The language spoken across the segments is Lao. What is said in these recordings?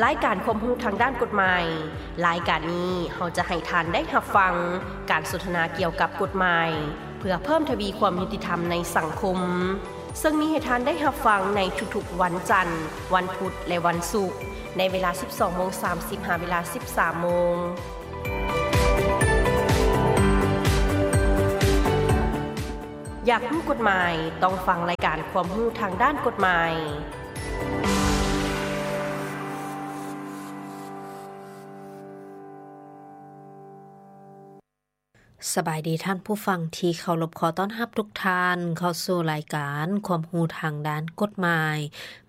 ລາຍການຄວາມຮູ້ທາງດ້ານກົດໝາຍ. ລາຍການນີ້ເຮົາຈະໃຫ້ທ່ານໄດ້ຮັບຟັງການສົນທະນາກ່ຽວກັບກົດໝາຍ ເພື່ອເພີ່ມທະວີຄວາມຍຸຕິທຳໃນສັງຄົມ, ເຊິ່ງມີໃຫ້ທ່ານໄດ້ຮັບຟັງໃນທຸກໆວັນຈັນ, ວັນພຸດ ແລະ ວັນສຸກ, ໃນເວລາສິບສອງໂມງສາມສິບ ຫາເວລາສິບສາມໂມງ. ຢາກຮູ້ກົດໝາຍ? ຕ້ອງຟັງລາຍການຄວາມຮູ້ທາງດ້ານກົດໝາຍ. ສະບາຍດີທ່ານຜູ້ຟັງທີ່ເຄົາລົບ, ຂໍຕ້ອນຮັບທຸກທ່ານເຂົ້າສູ່ລາຍການຄວາມຮູ້ທາງດ້ານກົດໝາຍ.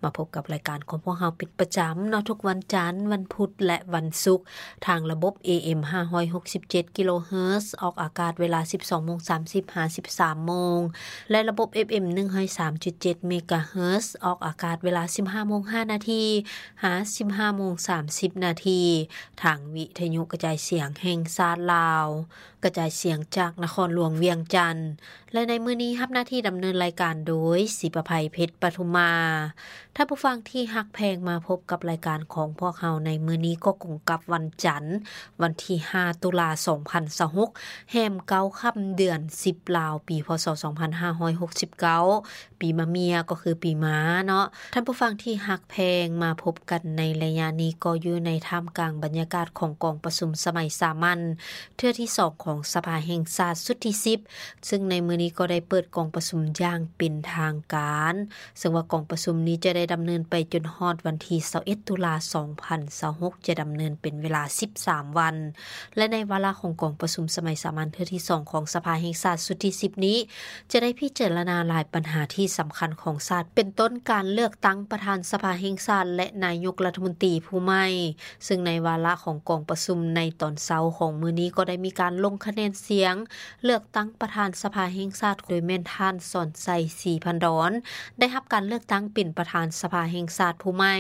ມາພົບກັບລາຍການຂອງພວກເຮົາເປັນປະຈຳເນາະ, ທຸກວັນຈັນ, ວັນພຸດ ແລະ ວັນສຸກ ທາງລະບົບ ເອເອັມ ຫ້າຮ້ອຍຫົກສິບເຈັດ ກິໂລເຮີດ ອອກອາກາດເວລາສິບສອງໂມງສາມສິບ ຫາ ສິບສາມໂມງ ແລະ ລະບົບ ເອັຟເອັມ ໜຶ່ງຮ້ອຍສາມຈຸດເຈັດ ເມກາເຮີດ ອອກອາກາດເວລາສິບຫ້າໂມງຫ້ານາທີ ຫາ ສິບຫ້າໂມງສາມສິບນາທີ ທາງວິທະຍຸກະຈາຍສຽງແຫ່ງຊາດລາວ, ກະຈາຍສຽງຈາກນະຄອນຫຼວງວຽງຈັນ. ແລະ ໃນມື້ນີ້ຮັບໜ້າທີ່ດຳເນີນລາຍການໂດຍ ສີປະໄພ ເພັດປະທຸມມາ. ທ່ານຜູ້ຟັງທີ່ຮັກແພງ, ມາພົບກັບລາຍການຂອງພວກເຮົາໃນມື້ນີ້ກໍກົງກັບວັນຈັນ, ວັນທີຫ້າ ຕຸລາ ສອງພັນຊາວຫົກ ແຮມເກົ້າຄ່ຳ ເດືອນສິບລາວ, ປີ ພ.ສ. ສອງພັນຫ້າຮ້ອຍຫົກສິບເກົ້າ ປີມະເມຍ ກໍຄືປີມ້າເນາະ. ທ່ານຜູ້ຟັງທີ່ຮັກແພງ, ມາພົບກັນໃນໄລຍະນີ້ກໍຢູ່ໃນທ່າມກາງບັນຍາກາດຂອງກອງປະຊຸມສະໄໝສາມັນເທື່ອທີສອງຂອງສະພາແຫ່ງຊາດຊຸດທີສິບ ເຊິ່ງໃນມື້ນີ້ກໍໄດ້ເປີດກອງປະຊຸມຢ່າງເປັນທາງການ, ເຊິ່ງວ່າກອງປະຊຸມນີ້ຈະໄດ້ດຳເນີນໄປຈົນຮອດວັນທີຊາວເອັດ ຕຸລາ ສອງພັນຊາວຫົກ ຈະດຳເນີນເປັນເວລາສິບສາມວັນ. ແລະ ໃນວາລະຂອງກອງປະຊຸມສະໄໝສາມັນເທື່ອທີສອງຂອງສະພາແຫ່ງຊາດຊຸດທີສິບນີ້ ຈະໄດ້ພິຈາລະນາຫຼາຍບັນຫາທີ່ສຳຄັນຂອງຊາດ, ເປັນຕົ້ນການເລືອກຕັ້ງປະທານສະພາແຫ່ງຊາດ ແລະ ນາຍົກລັດຖະມົນຕີຜູ້ໃໝ່. ເຊິ່ງໃນວາລະຂອງກອງປະຊຸມໃນຕອນເຊົ້າຂອງມື້ນີ້ ກໍໄດ້ມີການລົງຄະແນນສຽງເລືອກຕັ້ງປະທານສະພາແຫ່ງຊາດ ໂດຍແມ່ນທ່ານ ສອນໄຊ ສີພັນດອນ ໄດ້ຮັບການເລືອກຕັ້ງເປັນປະທານສະພາແຫ່ງຊາດຜູ້ໃໝ່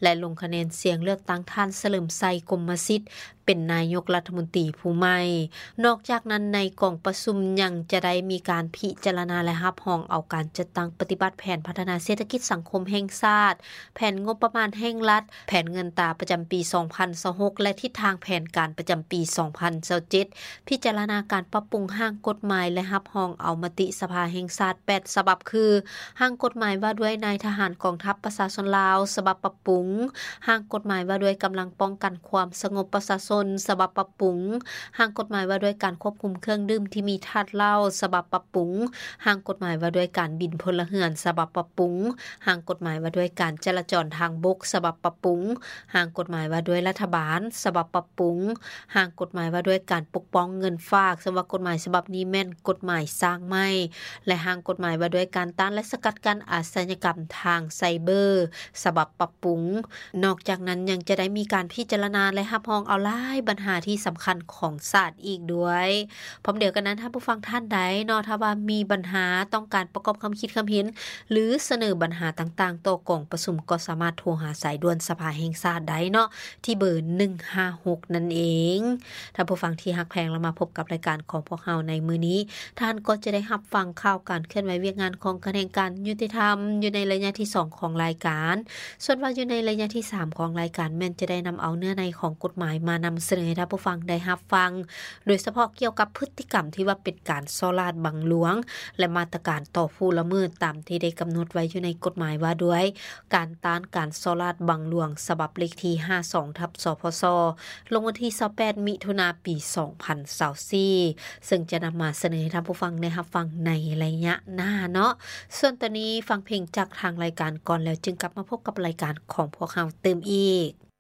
ແລະ ລົງຄະແນນສຽງເລືອກຕັ້ງທ່ານ ສະເຫຼີມໄຊ ກົມມະສິດ ເປັນນາຍົກລັດຖະມົນຕີຜູ້ໃໝ່. ນອກຈາກນັ້ນ, ໃນກອງປະຊຸມຍັງຈະໄດ້ມີການພິຈາລະນາ ແລະ ຮັບຮອງເອົາການຈັດຕັ້ງປະຕິບັດແຜນພັດທະນາເສດຖະກິດສັງຄົມແຫ່ງຊາດ, ແຜນງົບປະມານແຫ່ງລັດ, ແຜນເງິນຕາປະຈຳປີສອງພັນຊາວຫົກ ແລະ ທິດທາງແຜນການປະຈຳປີສອງພັນຊາວເຈັດ, ພິຈາລະນາການປັບປຸງຮ່າງກົດໝາຍ ແລະ ຮັບຮອງເອົາມະຕິສະພາແຫ່ງຊາດແປດສະບັບ ຄື ຮ່າງກົດໝາຍວ່າດ້ວຍນາຍທະຫານກອງທັບປະຊາຊົນລາວ ສະບັບປັບປຸງ, ຮ່າງກົດໝາຍວ່າດ້ວຍກຳລັງປ້ອງກັນຄວາມສະຫງົບປະຊາຊົນ ສະບັບປັບປຸງ, ຮ່າງກົດໝາຍວ່າດ້ວຍການຄວບຄຸມເຄື່ອງດື່ມທີ່ມີທາດເຫຼົ້າ ສະບັບປັບປຸງ, ຮ່າງກົດໝາຍວ່າດ້ວຍການບິນພົນລະເຮືອນ ສະບັບປັບປຸງ, ຮ່າງກົດໝາຍວ່າດ້ວຍການຈະລາຈອນທາງບົກ ສະບັບປັບປຸງ, ຮ່າງກົດໝາຍວ່າດ້ວຍລັດຖະບານ ສະບັບປັບປຸງ, ຮ່າງກົດໝາຍວ່າດ້ວຍການປົກປ້ອງເງິນຝາກ ເຊິ່ງວ່າກົດໝາຍສະບັບນີ້ແມ່ນກົດໝາຍສ້າງໃໝ່ ແລະ ຮ່າງກົດໝາຍວ່າດ້ວຍການຕ້ານ ແລະ ສະກັດກັ້ນອາຊະຍາກຳທາງໄຊເບີ ສະບັບປັບປຸງ. ນອກຈາກນັ້ນຍັງຈະໄດ້ມີການພິຈາລະນາ ແລະ ຮັບຮອງເອົາຫຼາຍບັນຫາທີ່ສຳຄັນຂອງຊາດອີກດ້ວຍ. ພ້ອມດຽວກັນນັ້ນ, ທ່ານຜູ້ຟັງທ່ານໃດເນາະ, ຖ້າວ່າມີບັນຫາ, ຕ້ອງການປະກອບຄຳຄິດຄຳເຫັນ ຫຼື ສະເໜີບັນຫາຕ່າງໆຕໍ່ກອງປະຊຸມ, ກໍສາມາດໂທຫາສາຍດ່ວນສະພາແຫ່ງຊາດໄດ້ເນາະ ທີ່ເບີ ໜຶ່ງຫ້າຫົກ ນັ້ນເອງ. ທ່ານຜູ້ຟັງທີ່ຮັກແພງ, ລະມາພົບກັບລາຍການຂອງພວກເຮົາໃນມື້ນີ້, ທ່ານກໍຈະໄດ້ຮັບຟັງຂ່າວການເຄື່ອນໄຫວວຽກງານຂອງຂະແໜງການຍຸຕິທຳ ຢູ່ໃນໄລຍະທີສອງຂອງລາຍການ. ສ່ວນວ່າຢູ່ໃນໄລຍະທີສາມຂອງລາຍການ ແມ່ນຈະໄດ້ນຳເອົາເນື້ອໃນຂອງກົດໝາຍມານຳສະເໜີໃຫ້ທ່ານຜູ້ຟັງໄດ້ຮັບຟັງ, ໂດຍສະເພາະກ່ຽວກັບພຶດຕິກຳທີ່ວ່າເປັນການສໍ້ລາດບັງຫຼວງ ແລະ ມາດຕະການຕໍ່ຜູ້ລະເມີດ ຕາມທີ່ໄດ້ກຳນົດໄວ້ຢູ່ໃນກົດໝາຍວ່າດ້ວຍການຕ້ານການສໍ້ລາດບັງຫຼວງ ສະບັບເລກທີຫ້າສອງ ທັບ ສພສ ລົງວັນທີຊາວແປດ ມິຖຸນາ ປີສອງພັນຊາວສີ່ ເຊິ່ງຈະນຳມາສະເໜີໃຫ້ທ່ານຜູ້ຟັງໄດ້ຮັບຟັງໃນໄລຍະໜ້າເນາະ. ສ່ວນຕອນນີ້ຟັງເພງຈາກທາງລາຍການກ່ອນ ແລ້ວຈຶ່ງກັບມາພົບກັບລາຍການຂອງພວກເຮົາຕື່ມອີກ.